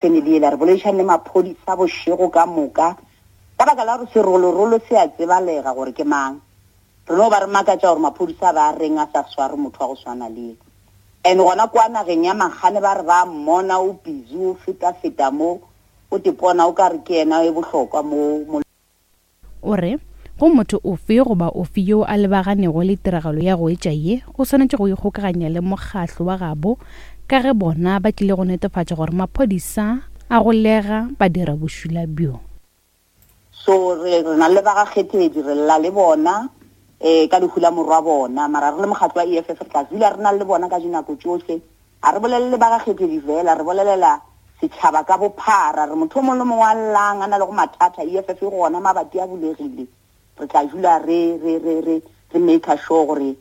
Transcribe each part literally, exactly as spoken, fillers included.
Family yela re boledišane le maphodisa bošego ka moka ka baka la gore serolorolo se a tsebalega gore ke mang. Re no ba re makatša gore maphodisa ba reng a sa sware motho wa go swana le yena. And gona kwa nageng ya Makgane ba re ba mmona o busy o feta-feta mo o tepona o ka re ke yena e bohlokwa mo mo. O re, Go motho ofe goba ofe yo a lebaganego le tiragalo ya go etša ye, o swanetše go ikgokaganya le mokgatlo wa gabo ka ge bona ba tlile go netefatša gore maphodisa a golega badirabošula bjo. So re re na le ba ga Kgethedi, re lla le bona um ka lehu la morwa bona, mara re le mokgatlo wa E F F re tla dula re na le bona ka dinako tšohle. Ga re bolelele ba ga Kgethedi fela, re bolelela setšhaba ka bophara, re motho o mongwe le mongwe a llang a na le go mathata, E F F e gona, mabati a bulegile, re tla dula re re re re re make sure gore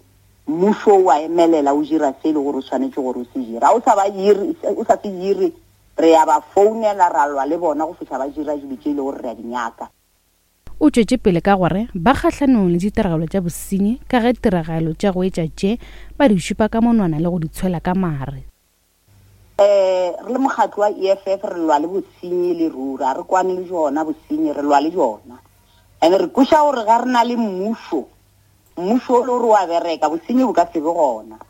mmušo o a emelela o dira se e le gore o swanetše gore o se dire. Ga o sa ba ire, o sa se dire, re ya ba founela ra lwa le bona go fihla ba dira dilo tše e le gore re a di nyaka. O tšwetše pele ka gore ba kgahlanong le ditiragalo tša bosenyi ka ge tiragalo tša go etša tše ba di šupa ka monwana le go di tshwela ka mare. Eh, re le mokgatlo wa E F F re lwa le bosenyi le ruri, ga re kwane le jona bosenyi, re lwa le jona. And re kweša gore ga re na le mmušo, mmušo o le gore wa bereka, bosenyi bo ka se be gona.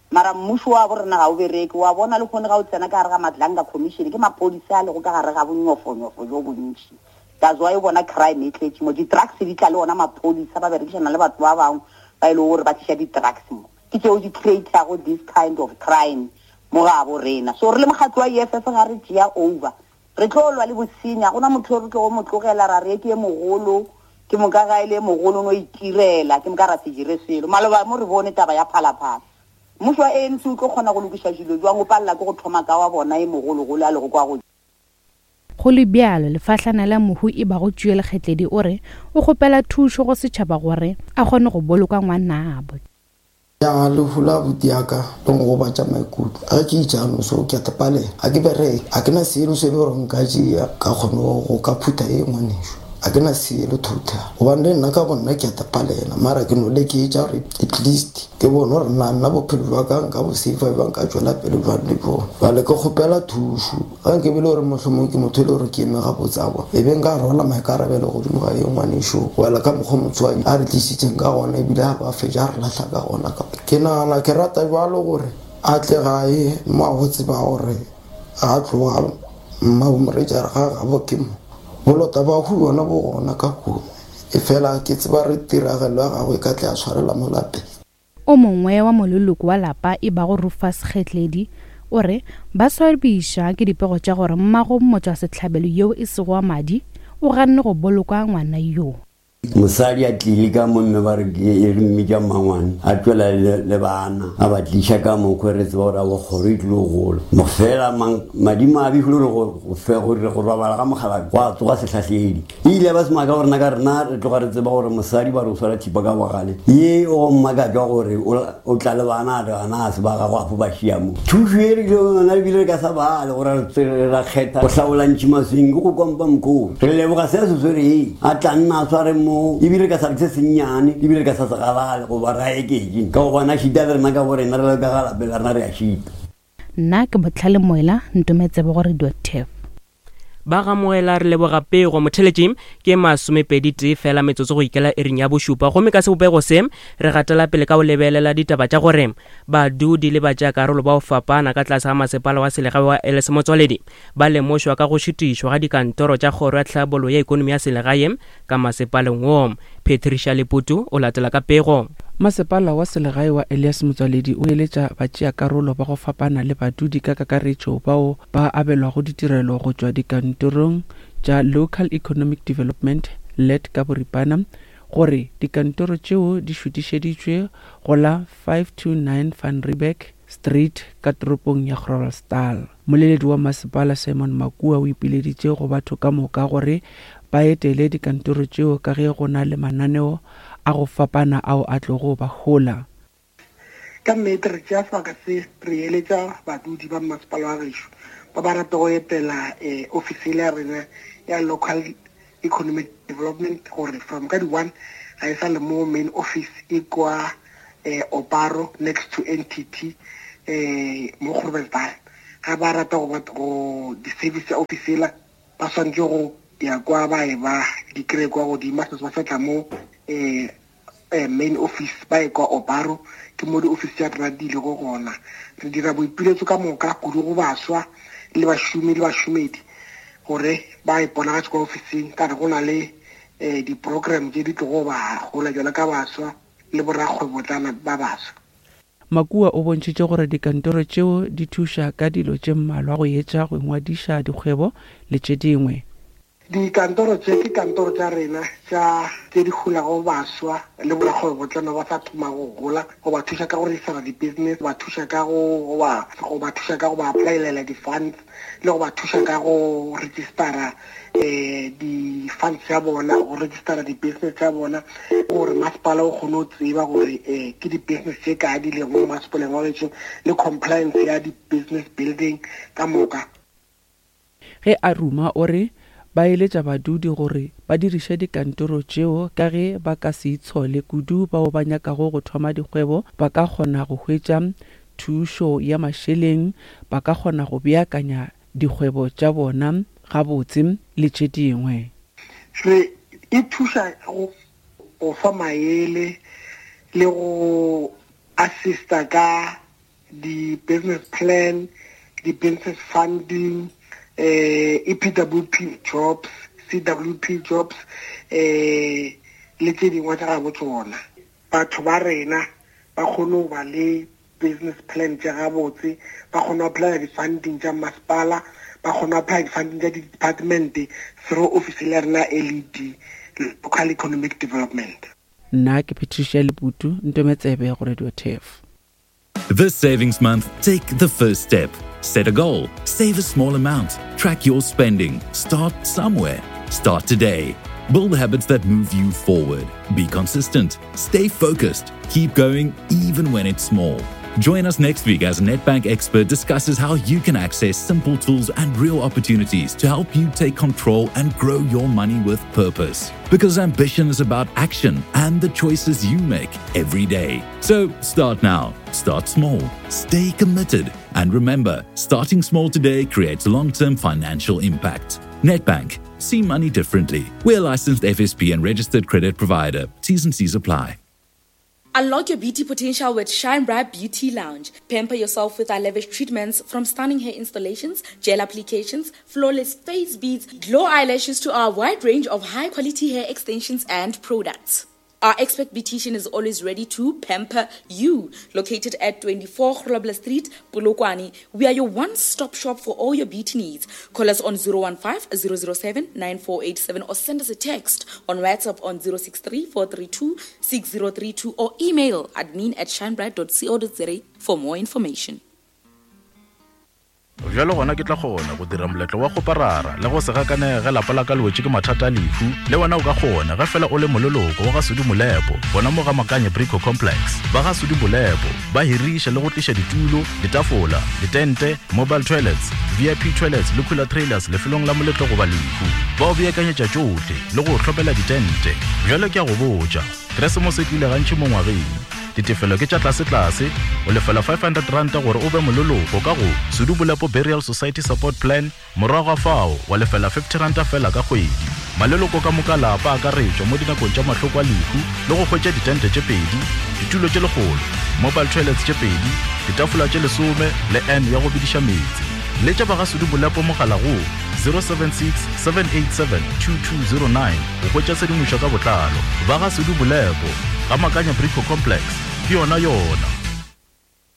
Mara mmušo wa bo rena ga o bereke, wa bona le kgone ga o tsena ka gare ga Madlanga Commission, ke maphodisa a lego ka gare ga bonyofonyofo jo bontši. That's why o bona crime e tletše mo, di-drugs di tla le ona maphodisa ba berekišana le batho ba bangwe ba e lego gore ba tliša di-drugs mo. Ke tšeo di create-ago this kind of crime mo ga bo rena. So re le mokgatlo wa E F F ga re tšea over, re tlo lwa le bosenyi, ga gona motho o re tlo go mo tlogela ra re ke e mogolo, ke moka ga e le mogolo no itirela, ke moka ra se dire selo. Maloba mo re bone taba ya Phalaphala. Mmušo wa A N C o tlo kgona go lokiša dilo jwang, o palela ke go thoma ka wa bona e mogologolo a lego kwa godimo. Go le bjalo, lefahlana la mohu e bago Tšuele Kgetledi o re o kgopela thušo go setšhaba gore a kgone go boloka ngwanabo. Ya lehu la abuti ya ka le ngogobatša maikutlo. Ge ke itšano so ke a tepalela, ga ke bereke, ga ke na selo se e le gore nka tšea ka kgone go ka phutha e ngwaneso. Ga ke na selo total, gobane le nna ka bo nna ke a tepalela, mara ke no leketša gore at least ke bone gore nna nna bophelo bja ka nka bo save-a bjang, ka tšwela pele bjang le bjona. Bjale ke kgopela thušo, ga nke be le gore mohlomong ke motho e le gore ke eme gabotse aowa, e be nka rwala maikarabelo godimo ga ye ngwaneso, goela ka mokgwa motswadi a re tlisitseng ka gona, ebile a ba fetša a re lahla ka gona. Ke nagana ke rata bjalo gore a tle gae mo a go tseba gore ga tloga mma bo moretša re ga gabo ke mo. Bolota ba hu yona bo gona ka kua, e fela ke tseba re tiragalo ya gagwe e ka tle a tshwarela mo lapeng. O mongwe wa moleloko wa lapa e bago Rufus Kgetledi o re ba swabiša ke dipego tša gore mmago motswasehlabelo yeo e sego wa madi o ganne go boloka ngwana yo. Mosadi a tlile ka mo mme ba re ke e re mmitša mmangwane, a tšwela le, le bana, a ba tliša ka mokgwa re tseba gore a bo kgoro e tlile go gola. Mofela mang, madimo a befile gore go, go fe, gore go robala ga mogala gwa tsoga sehlahledi. E ile ba semaka gore nna ka rena re tloga re tseba gore mosadi ba re o swara thipa ka bogale. Ye o mmakatšwa gore o, o tla le bana, a re bana a se ba gago a fo ba šia mo. Thušo e re ile yona ebile re ka sa bale gore re tsere ra kgetha go hlaola ntšhi maswing ke go kompa mokgosi. Re leboga se a se swereng, a tla nna a sware mo, ebile re ka sa re se sennyane, ebile re ka sa se galale goba ra eketše. Ka gobane a šita le rena ka bo rena re le ka ga lapeng la rena re a šita. Nna ke Botlhale Moela, ntometsebe go Radio Turf. Ba ga Moela re leboga pego motheletši ke masomepedi tee fela metsotso go ikela iring ya bošupa, gomme ka sebopego se re gatela pele ka go lebelela ditaba tša gore badudi le batšeakarolo ba go fapana ka tlase ga masepala wa selegae wa Elias Motsoaledi ba lemošwa ka go šutišwa ga dikantoro tša kgoro ya tlhabollo ya ikonomi ya selegae ka masepaleng wo. Patricia Leputu o latela ka pego. Masepala wa selegae wa Elias Motsoaledi o eletša batšeakarolo ba go fapana le badudi ka kakaretšo bao ba abelwago ditirelo go tšwa dikantorong tša Local Economic Development L E D ka boripana gore dikantoro tšeo di šutišeditšwe go la five two nine Van Riebeeck Street ka toropong ya Groblersdal. Moleledi wa masepala Simon Makua o ipileditše go batho ka moka gore ba etele dikantoro tšeo ka ge go na le mananeo a go fapana ao a tlogo ba hola. Ka nnete re tšea sebaka se re eletša badudi ba masepala wa gešo ba ba rata go etela, eh, ofisi ya rena ya Local Economic Development gore from ka di-one ga e sa le mo main office e kwa, eh, Oparo next to N T T, eh, mo Groblersdal. Ga ba rata go ba go di-service office ela, ba swanetše go ya kwa ba e ba di kry kwa godimo, se ba sa tla mo um main office, ba e kwa Obaro, ke mo di-office tša rena di ilego gona. Re dira boipiletso ka moka kudu go baswa le bašomi le bašomedi gore ba iponagatše kwa officing, ka re go na le um di-program tše di tlogo ba gola jalo ka baswa le borakgwebotlana ba baswa. Makua o bontšhitše gore dikantoro tšeo di thuša ka dilo tše mmalwa go etša go ngwadiša dikgwebo le tše dingwe. Dikantoro tše ke kantoro tša rena tša tše di holago baswa le borakgwebotlana ba sa thoma go gola, go ba thuša ka go registera di-business, go ba thuša ka go ba go ba thuša ka go ba applyela di-funds, le go ba thuša ka go registera um di-funds tša bona, go registera di-business tša bona, gore masepala o kgone go tseba gore um ke di-business tše kae di lego mo masepaleng wa gešo, le compliance ya di-business building ka moka. Ge a ruma o re ba eletša badudi gore ba diriše dikantoro tšeo ka ge ba ka se itshole kudu bao ba nyakago go thoma dikgwebo, ba ka kgona go hwetša thušo ya mašeleng, ba ka kgona go beakanya dikgwebo tša bona gabotse le tše dingwe. Re e thuša go go fa maele le go assista ka di-business plan, di-business funding, eh E P W P jobs, C W P jobs, eh le tše dingwe tša gabo tsona. Batho ba rena ba kgone go ba le business plan tša gabotse, ba kgone go apply di-funding tša masepala, ba kgone go apply di-funding tša di-department through office ya rena L E D, Local Economic Development. Nna ke Patricia Leputu, Ntometsebe go Radio Turf. This savings month, take the first step. Set a goal, save a small amount, track your spending, start somewhere. Start today. Build habits that move you forward. Be consistent, stay focused, keep going even when it's small. Join us next week as a Nedbank expert discusses how you can access simple tools and real opportunities to help you take control and grow your money with purpose. Because ambition is about action and the choices you make every day. So start now, start small, stay committed, and remember, starting small today creates long-term financial impact. Nedbank, see money differently. We're a licensed F S P and registered credit provider. T's and C's apply. Unlock your beauty potential with Shine Bright Beauty Lounge. Pamper yourself with our lavish treatments, from stunning hair installations, gel applications, flawless face beads, glow eyelashes to our wide range of high-quality hair extensions and products. Our expert beautician is always ready to pamper you. Located at twenty-four Grobler Street, Polokwane, we are your one-stop shop for all your beauty needs. Call us on zero one five, zero zero seven, nine four eight seven or send us a text on WhatsApp on zero six three, four three two, six zero three two or email admin at shinebright dot co dot za for more information. Bjalo gona ke tla kgona go dira moletlo wa go parara le go se gakanege ge lapa la ka le wetše ke mathata a lehu. Le wena o ka kgona ge fela o le moleloko wa ga Sudi Molepo, gona mo ga Makanye Brico Complex. Ba ga Sudi Molepo ba hiriša le go tliša ditulo, ditafola, ditente, mobile toilets, V I P toilets le cooler trailers lefelong la moletlo goba lehu. Ba o beakanyetša tšohle le go hlopela ditente. Bjalo ke a go botša, Keresemose e tlile gantši mo ngwageng. Ditefelo ke tša tlase-tlase, o lefela five hundred ranta gore o be moleloko ka go Sudi Molepo Burial Society Support Plan, morago ga fao wa lefela fifty ranta fela ka kgwedi. Maleloko ka moka lapa a akaretšwa mo dinakong tša mahloko a lehu le go hwetša ditente tše pedi, ditulo tše lekgolo, mobile toilets tše pedi, ditafola tše lesome le N ya go bediša meetse. Letša ba ga Sudi Molepo mogala go zero seven six, seven eight seven, two two zero nine go hwetša tshedimošo ka botlalo. Ba ga Sudi Molepo, ga Makanya Brico Complex, ke yona yona.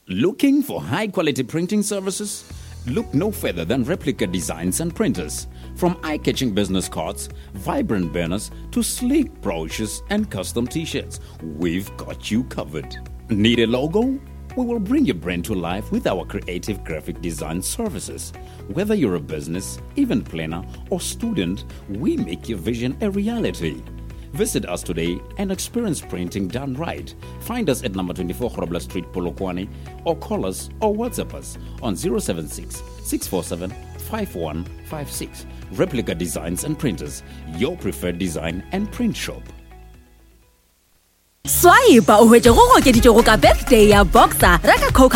Looking for high-quality printing services? Look no further than Replica Designs and Printers. From eye-catching business cards, vibrant banners, to sleek brochures and custom t-shirts, we've got you covered. Need a logo? We will bring your brand to life with our creative graphic design services. Whether you're a business, event planner, or student, we make your vision a reality. Visit us today and experience printing done right. Find us at number twenty-four Grobler Street, Polokwane, or call us or WhatsApp us on zero seven six, six four seven, five one five six. Replica Designs and Printers, your preferred design and print shop. Swipe o hwetše go okeditšego ka birthday ya Boxer, reka Coke